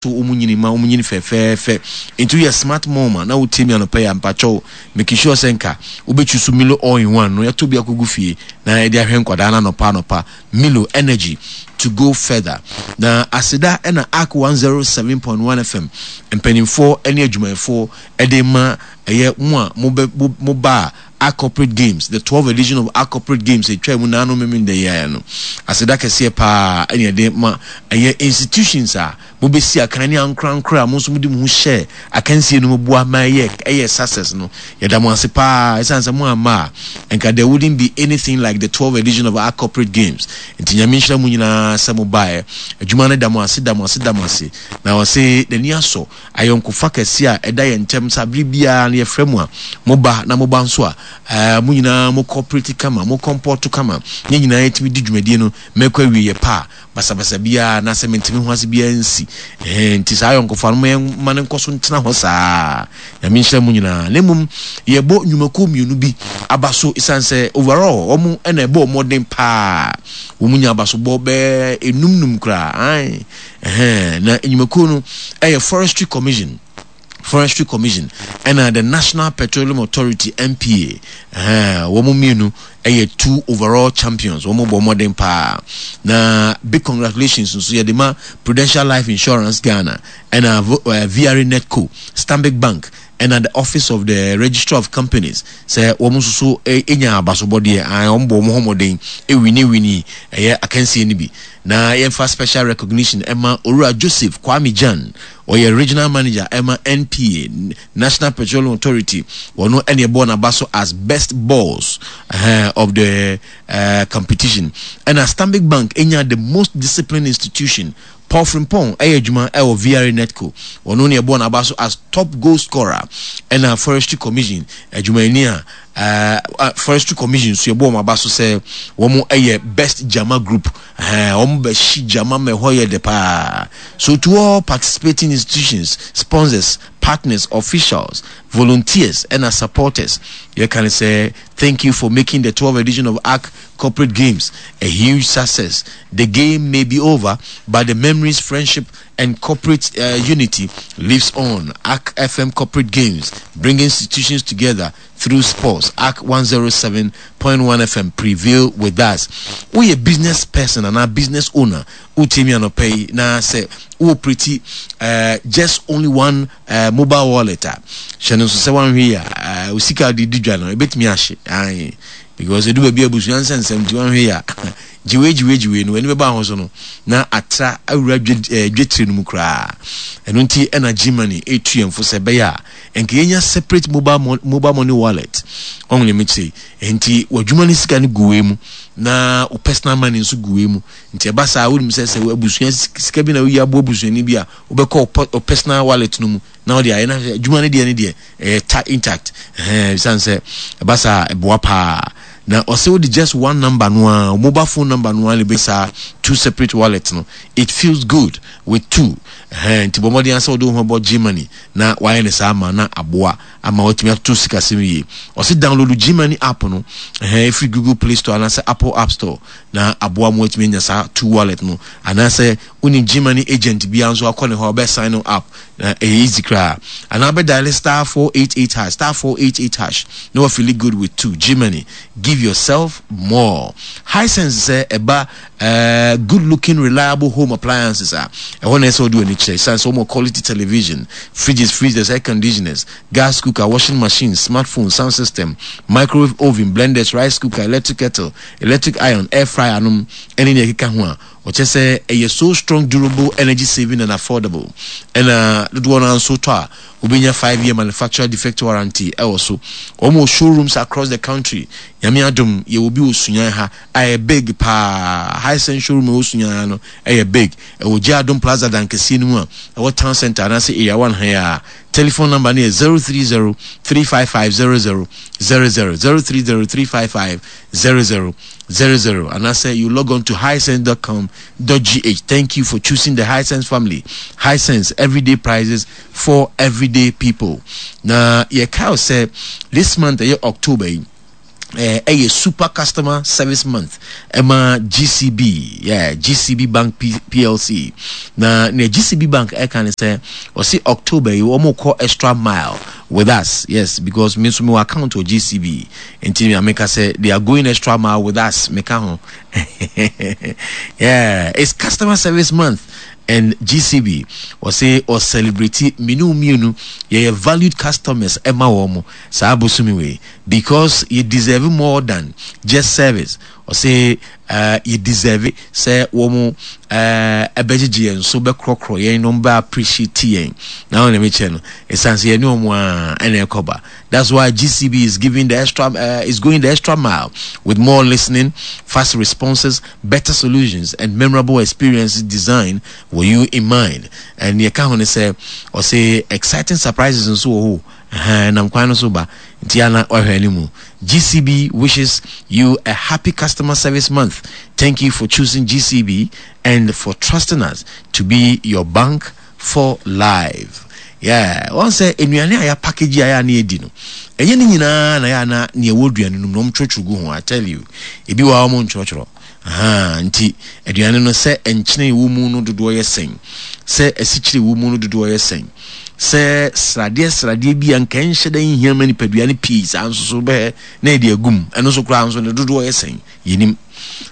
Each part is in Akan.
Wɔn nyini ma wɔn nyini fɛfɛɛfɛ. Nti woyɛ smart mom a na wotie mi anɔpa yi a, mpakyɛw make sure sɛ nka wobɛtwi so Milo all in one no yɛtɔ bi akɔgu fie na yɛde ahwɛ nkwadaa no anɔpa anɔpa. Milo energy to go further. Na aseda ɛna Ark 107.1 FM mpanimfoɔ ne adwumayɛfoɔ ɛde ma ɛyɛ mo a mobɛ mo ba a Ark Corporate Games, the 12th edition of Ark Corporate Games ɛtwa mu naano memenda yi ara no. Aseda kɛseɛ paa ɛne ɛde ma ɛyɛ institutions a mobɛsi akan ne ankorankoro a mo nso mode mo ho hyɛɛ akansie no mu boa ma ɛyɛ ɛyɛ success no. Yɛda mo ase paa ɛsiane sɛ mo amma a nka there wouldn't be anything like the 12th edition of Ark Corporate Games. Nti Nyame nhyira mo nyinaa sɛ mo baeɛ. Adwuma no da mo ase da mo ase da mo ase. Na ɔse n'ani asɔ ayɔnkofa kɛse a ɛda yɛn ntam sɛ bere biara no yɛfrɛ mo a, moba, na moba nso a, ɛɛ, mo nyinaa mo cooperate kama, mo comport kama, yɛn nyinaa yɛtumi di dwumadie no ma ɛkɔ awieeɛ pa a, basabasa biara anaasɛ menteme ho ase biara nsi. Ɛhɛn, nti saa ayɔnkofa no, momma no nkɔ so ntena hɔ saa. Nyame nhyira mo nyinaa. Na mmom, yɛbɔ nnwumakuo mmienu bi aba so ɛsiane sɛ overall wɔn na ɛbɔɔ mmɔden paa. Wɔn nya abasobɔ bɛyɛ enum num koraa. Ae. Ɛhɛn, na nnwumakuo no yɛ Forestry Commission, Forestry Commission, ɛna the National Petroleum Authority, NPA. Ɛhɛn, wɔn mmienu yɛ two overall champions. Wɔn bɔ mmɔden paa. Na big congratulations nso yɛde ma Prudential Life Insurance Ghana, ɛna VRA Netco, Stanbic Bank, ɛna the Office of the Registrar of Companies sɛ wɔn nso so nya abasobɔdeɛ. Ae, wɔn bɔ wɔn ho mmɔden wini wini ɛyɛ akansie no bi. Na yɛmfa special recognition ɛma Owura Joseph Kwame Gyan, ɔyɛ Regional Manager ɛma NPA, National Petroleum Authority, wɔno ɛne ɛbɔɔ n'aba so as Best Boss uh, of the uh, competition. Ɛna Stanbic Bank ɛnya the most disciplined institution. Paul Frimpong ɛyɛ adwuma ɛwɔ VRA Netco, wɔno ne ɛbɔɔ n'aba so as top goal scorer. Ɛna Forestry Commission adwumayɛni a uh, Forestry Commission nso yɛbɔ wɔn aba so sɛ wɔn yɛ best jama group, wɔn bɛhyi jama ma ɛhɔ yɛ dɛ paa. So to all participating institutions, sponsors, partners, officials, volunteers ɛna supporters, yɛka ne sɛ thank you for making the 12th edition of ARC Corporate Games a huge success. The game may be over, but the memories, friendship and corporate unity lives on. ARC FM Corporate Games, bringing institutions together through sports. ARC 107.1 FM prevail with us. Woyɛ business person anaa business owner, wotie mi anɔpa yi na sɛ wo operate just only one mobile wallet a, hyɛ no nso sɛ wanhwɛ yi a, uh, sika de di dwa no ebetumi ahye. Ae, because edu baabi abusua nsɛnsɛm nti wanhwɛ yi a, gyewe gyewe gyewe no w'ani bɛba ho so no na atra awura dwetire no mu koraa. Ɛno nti ɛna Germany etu yɛn fo sɛ ɛbɛyɛ a nka yɛnya separate mobile money wallet. Ɔho ne mekyerɛ nti w'adwuma no sika no gu wei mu na wo personal money nso gu wei mu. Nti ɛba saa wonim sɛ sɛ abusua sika bi na woyi aboa abusuani bi a, wobɛkɔ wo personal wallet no mu na wode ayɛ na adwuma no deɛ no deɛ ɛyɛ ta intact. Ɛhɛn, ɛsiane sɛ ɛba saa ɛboa paa. Na ɔsɛ wode just one number no ara, mobile phone number no ara na ɛbɛ saa two separate wallet no. It feels good with two. Ɛhɛn, nti bɔ mmɔden asɛ wode wo ho bɔ Gmoney na wayɛ no saa ama na aboa ama watumi atoto sikasɛm yie. Ɔsɛ download Gmoney app no, ɛhɛn, ɛfiri Google Play Store anaasɛ Apple App Store na aboa ma watumi anya saa two wallet no. Anaasɛ wonim Gmoney agent biara nso akɔ ne hɔ a ɔbɛ sign no up na ɛyɛ easy koraa. Anaa bɛ dial *488#, *488# na wa feel good with two. Gmoney, give yourself more. Hisense sɛ ɛba good looking reliable home appliances a, ɛhɔ na ɛsɛ wode w'ani kyerɛ. Ɛsiane sɛ wɔn quality television, fridges, freezers, air conditioners, gas cooker, washing machines, smartphone, sound system, microwave oven, blenders, rice cooker, electric kettle, electric iron, air fryer nom ɛne nea ɛkeka ho a, wɔkyɛ sɛ ɛyɛ so strong, durable, energy saving and affordable. Ɛna dodoɔ no ara nso tɔ a, wobɛnya 5 year manufacturer defect warranty ɛwɔ so. Wɔn wɔ showrooms across the country. Nyame adom, yɛwɔ bi wɔ Sunyani ha a ɛyɛ big paa. Hisense showroom ɛwɔ Sunyani ha no ɛyɛ big. Ɛwɔ Gye Adom Plaza dan kɛseɛ no mu a ɛwɔ Town Center anaasɛ Area 1 ha yi a. Telephone number no yɛ 030 355 00 00, 030 355 00 00, anaasɛ you log on to hisense.com.gh. Thank you for choosing the Hisense family. Hisense, everyday prices for everyday people. Na yɛkae sɛ this month ɛyɛ October yi, Eh, ɛyɛ Super Customer Service Month ɛma GCB, yeah, GCB Bank P PLC. Na nea GCB Bank ɛka ne sɛ, ɔsi October yi wɔn kɔ extra mile with us, yes, because me nso mewɔ account wɔ GCB, nti nea meka sɛ they are going extra mile with us, meka ho. Yeah, it's Customer Service Month and GCB ɔse ɔ celebrate me ne wo mmienu yɛyɛ valued customers ɛma wɔn saa bosome wei. Because yɛ deserve more than just service ɔse eh, yɛ deserve sɛ wɔn eh, ɛbɛgyegye yɛn so bɛkorɔkorɔ yɛn na wɔn bɛ appreciate yɛn na wɔn na mekyerɛ no ɛsan sɛ yɛne wɔn a ɛna ɛkɔba. That's why GCB is giving the extra is going the extra mile with more listening, fast responses, better solutions and memorable experiences designed with you in mind. And yɛka ho ne sɛ ɔse exciting surprises nso wɔ hɔ. Ɛhɛn, nam kwan no so ba, nti a na wahwɛ anim. GCB wishes you a happy customer service month. Thank you for choosing GCB and for trusting us to be your bank for life. Yeah, wɔn sɛ nnuane a yɛapackage a yɛ a na yɛdi no, ɛnyɛ ne nyinaa na yɛ a na nea ɛwɔ aduane no mu na wɔn twerɛtwerɛ gu ho. I tell you, ebi wɔ a wɔn ntwerɛtwerɛ. Ahaa, nti aduane no sɛ nkyene ɛwɔ mu no dodoɔ yɛ sɛn? Sɛ asikyire ɛwɔ mu no dodoɔ yɛ sɛn? Sɛ sradeɛ sradeɛ bi a nka ɛnhyɛ da nhia ma nipadua no pii saa nso so bɛhɛ na yɛde agu mu, ɛno nso koraa nso ne dodoɔ yɛ sɛn? Yɛnim.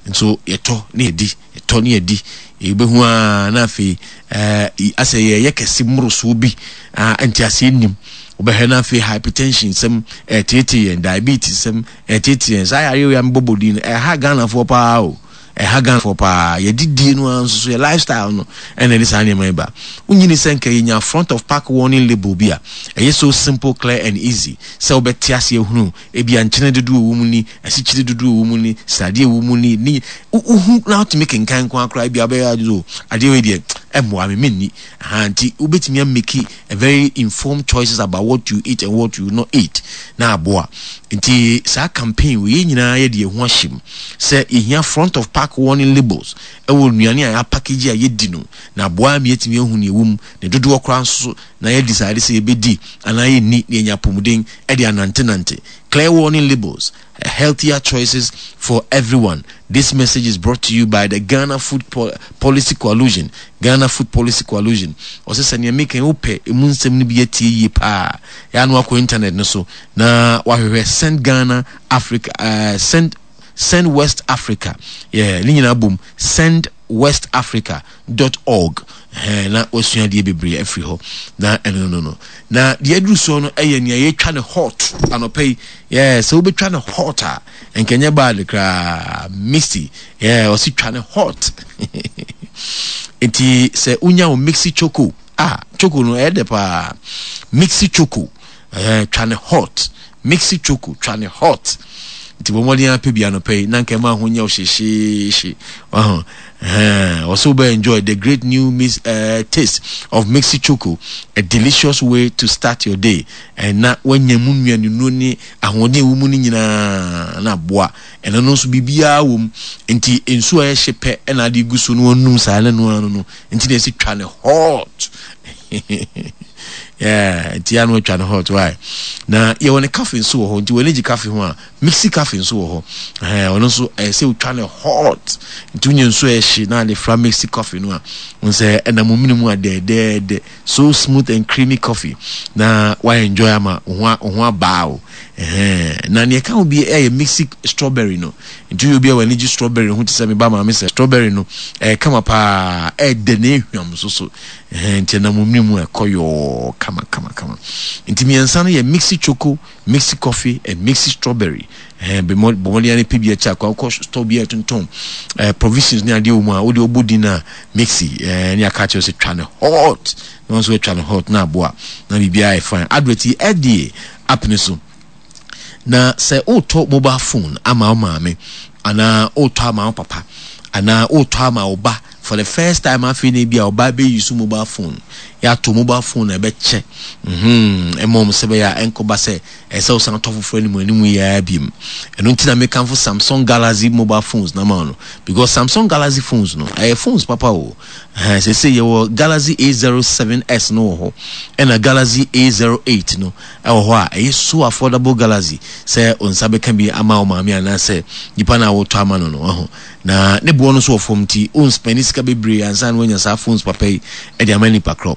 Nso yɛtɔ ne yɛdi, yɛtɔ ne yɛdi, yɛbɛhu ara na afei ɛɛ asɛ yɛyɛ kɛse mmorosoɔ bi a nteaseɛ nnim. Wobɛhwɛ na afei hypertension sɛm ɛreteetee yɛn, diabetes sɛm Ɛtete yɛn. Saa yareɛ wei a mebɔbɔ din no, ɛha Ghanafoɔ paa o. Ɛha Ghanafoɔ paa. Yɛdidie no ara nso so, yɛ lifestyle no ɛna ɛde saa nneɛma yi ba. Wonyini sɛ nka yɛnya front of pack warning label bi a, ɛyɛ so simple, clear and easy sɛ wobɛte aseɛ ahunu ebia nkyene dodoɔ ɛwɔ mu ni, asikyire dodoɔ ɛwɔ mu ni, sradeɛ ɛwɔ mu ni, ne wohu na wotumi kenkan nko ara koraa ebia wobɛyɛ adwene o, adeɛ wei deɛ ɛmmoa me, menni. Aha, nti wobɛtumi ameki a very informed choices about what you eat and what you not eat na aboa. Nti saa campaign wei yɛn nyinaa yɛde yɛn ho ahyɛ mu sɛ yɛhia front of pack warning labels ɛwɔ nnuane a yɛapackage a yɛdi no na aboa ama yɛatumi ahu nea ɛwɔ mu ne dodoɔ koraa nso so na yɛ decide sɛ yɛbɛdi anaa yɛnni na yɛanya apɔmuden de anantenante. Clear warning labels, healthier choices for everyone. This message is brought to you by the Ghana Food Policy Coalition. Ghana Food Policy Coalition. Ɔsɛ sɛ nea meka yi wopɛ emu nsɛm no bi atie yie paa. Yɛ ano akɔ internet no so na wahwehwɛ Send Ghana Africa Send Send West Africa. Yeah, ne nyinaa bom Send West Africa dot org. Ɛhɛn, na wasua adeɛ bebree afiri hɔ. Na ɛno no no. Na deɛ aduru soɔ no ɛyɛ nea yɛtwa no hot anɔpa yi. Yeah, sɛ wobɛtwa no hot a, nka ɛnyɛ bad koraa. Misty, yeah, ɔsi twa no hot. Nti sɛ wonya wo mixi choco, ah, choco no ɛyɛ dɛ paa. Mixi choco, ɛhɛn, twa no hot. Mixi choco, twa no hot. Nti bɔ mmɔden ara pɛ bi anɔpa yi na nka ɛma ho nyɛ wo hyehyeehye. Waho? Ɛhɛn, ɔsɛ wobɛ enjoy the great new mis, uh, taste of Mixi Choco, a delicious way to start your day. Ɛna wanya mu nnuanennuro ne ahoɔden ɛwɔ mu no nyinaa na aboa. Ɛno no nso biribiara wɔ mu. Nti nsuo a ɛyɛ hye pɛ ɛna ade gu so na wanum saa na ɛno ano no. Nti na ɛsi twa ne hot. Yeah, nti ano atwa no hot why? Na yɛwɔ ne cafe nso wɔ hɔ nti w'ani gye cafe ho a mixi cafe nso wɔ hɔ. Ɛhɛn, ɔno nso ɛyɛ sɛ wotwa no hot. Nti wonya nsuo a ɛhye na ade fra mixi coffee no a, wohu sɛ ɛnam wo mene mu a dɛɛdɛɛdɛ. So smooth and creamy coffee na wa enjoy ama wo ho wo ho abaa o. Ɛhɛn, na nea ɛka ho bi ɛyɛ mixi strawberry no. Nti woyɛ obi a w'ani gye strawberry ho te sɛ me ba maame sɛ strawberry no ɛyɛ kama paa, ɛɛdɛ na ɛhwam nso so. Ɛhɛn, nti ɛnam omini mu a ɛkɔ yɔɔ kama kama kama. Nti mmiɛnsa no yɛ mixi choco, mixi coffee and mixi strawberry. Ɛhɛn, bɔ mmɔden ara pɛ bi akyɛ akɔ akɔ store bi a ɛtontɔn eh, provisions ne adeɛ wɔ mu a wode ɔbɔ din a mixi eh, ne aka akyerɛ sɛ twa no hot na wɔn nso atwa no hot na aboa na biribiara yɛ fine. Advert yi FDA app ne so. Na sɛ wotɔ mobile phone ama wo maame anaa wotɔ ama wo papa anaa wotɔ ama wo ba for For the first time afei na ebi a ɔbaa bɛ use mobile phone. Yɛato mobile phone na ɛbɛkyɛ. Mhm. Ɛma wɔn sɛ bɛyɛ a ɛnkɔba sɛ ɛsɛ sɛ wosan tɔ foforɔ anim anim yi ara biom. Ɛno nti na mekamfo Samsung Galaxy mobile phones na ma no. Because Samsung Galaxy phones no, ɛyɛ phones papa o. Ɛhɛn, seesei yɛwɔ Galaxy A07s no wɔ hɔ, ɛna Galaxy A08 no ɛwɔ hɔ a ɛyɛ so affordable Galaxy sɛ wo nsa bɛka bi ama wo maame anaasɛ nipa no a wotɔ ama no no, wahu. Na ne boɔ no nso wɔ fam nti wo nspɛne sika bebree ansa na woanya saa phones papa yi de ama nipa korɔ.